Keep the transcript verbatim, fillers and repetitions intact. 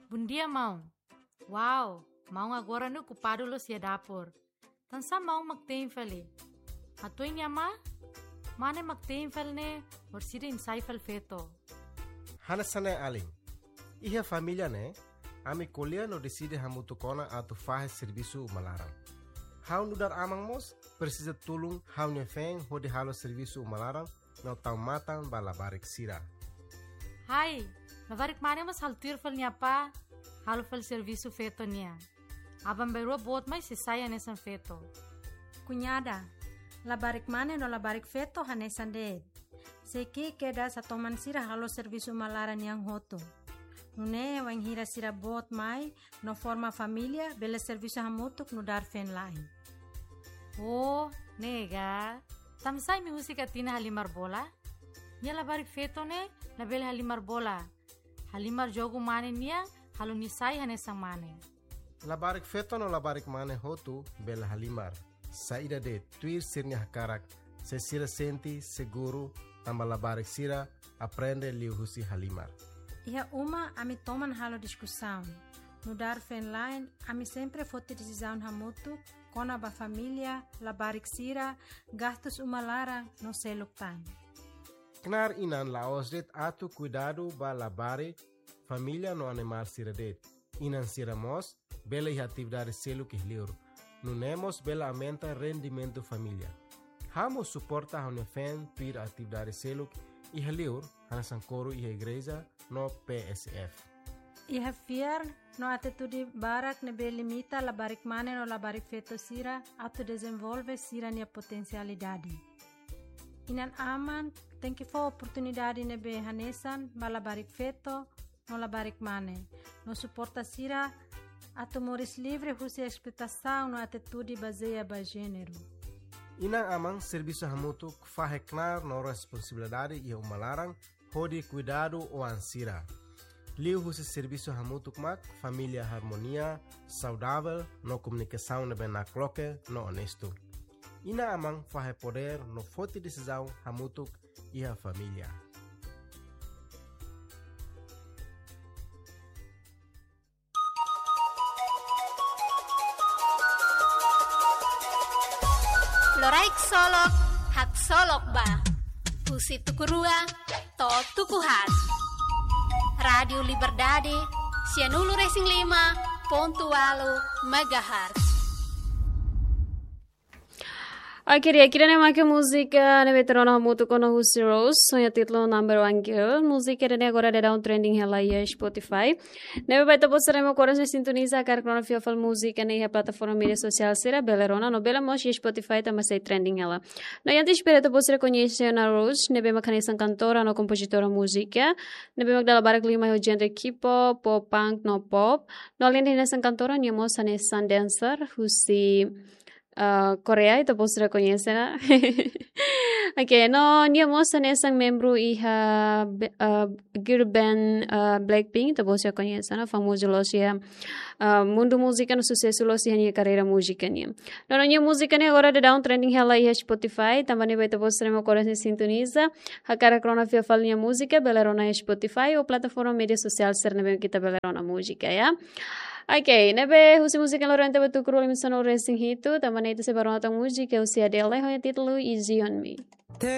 Bondia, maun. Wow, maun agora ne'e okupadu loos iha dapur. Tansá maun mak tein fali? Hatuin nia amá, mane mak tein fali ne'e, orsida imi sai fali feto. Hanesan ne'e alin. Iha família ne'e, ami ko'alia no deside hamutuk ona atu fahe servisu uma laran. Ha'u nu'udar aman mós, presiza tulun ha'u-nia feen hodi halo servisu uma laran, no tau matan ba labarik sira. Hai, labarik mane mós halo tuir fali nia apá, halo fali servisu feto nian. Aban-bainrua boot mai sei sai hanesan feto. Kuñada, labarik mane no labarik feto hanesan de'it. Sei ki'ik kedas hatoman sira halo servisu uma laran nian hotu. Nune'e wainhira sira boot mai, no forma família, bele servisu hamutuk nu'udar feen-la'en. Oh, ne'e ka. Tansá imi husik Atina halimar bola? Nia labarik feto ne'e, labele halimar bola. Halimar jogu mane nian, halo nia sai hanesan mane. Labarik feto no labarik mane hotu bele halimar. Saida de'it, tuir sira-nia hakarak, se sira sente seguru, tanba labarik sira aprende liuhusi halimar. Iha uma ami toman halo diskusaun. Nu'udar feen-la'en, ami sempre foti desizaun hamutuk, kona-ba família, labarik sira, gastus uma laran, no seluk tan. Knaar inan la'ós de'it atu kuidadu ba labarik, família no animál sira de'it. Inan sira mós bele iha atividade seluk iha liur. Nune'e mós bele aumenta rendimentu família. Ha'u mós suporta ha'u-nia feen tuir atividade seluk iha liur, hanesan koru iha igreja no P S F. Iha fiar no atitude barak ne'ebé limita labarik mane no labarik feto sira atu dezenvolve sira-nia potensialidade. Inan-aman tenke fó oportunidade ne'ebé hanesan ba labarik feto no labarik mane, no suporta sira atu moris livre husi esploitasaun no atitude bazeia ba jéneru. Inan-aman servisu hamutuk fahe knaar no responsabilidade iha uma laran hodi kuidadu oan sira. Liuhusi servisu hamutuk mak família harmonia, saudavel, no komunikasaun ne'ebé nakloke no onestu. Inan-aman fahe podér no foti desizaun hamutuk iha família. Loraik solok, haksolok ba. Husi tuku rua to'o tuku haat. Rádiu Liberdade, sianulu resin lima pontu ualu megahertz. Oke, di'ak, ida-ne'e mak múzika ne'ebé ita rona hamutuk ona husi Rose, ho nia títulu Number One Girl. Múzika ida-ne'e agora daudaun trending hela iha Spotify. Ne'ebé ba ita-boot sira ne'ebé agora sei sintoniza, hakarak rona fila fali múzika ne'e iha plataforma média sosiál sira, bele rona, no bele mós iha Spotify tanba sei trending hela. No antes para ita-boot sira koñese ona Rose, ne'ebé mak hanesan kantora no kompozitora múzika, ne'ebé mak dala barak liu mai ho genre K-pop, pop punk no pop. No alende hanesan kantora, nia mós hanesan dancer husi ah, Koreia, ita-boot sira koñese ona. Oke, no nia mós hanesan membru iha be-, ah, girl band, ah, Blackpink, ita-boot sira koñese ona, famozu loos iha, ah, mundu múzika no susesu loos iha nia karreira múzika nian. No, no nia múzika ne'e agora daudaun trending hela iha Spotify, tanba ne'e ba ita-boot sira ne'ebé agora sei sintoniza, hakarak rona fila fali nia múzika, bele rona iha Spotify ou plataforma média sosiál sira ne'ebé ita bele rona múzika, ya. Oke, ne'ebé husi múzika loron ita ba tuku rua liu sanulu resin hitu, tanba ne'e ita sei bá rona tan múzika husi Adele, ho nia títulu Easy on Me.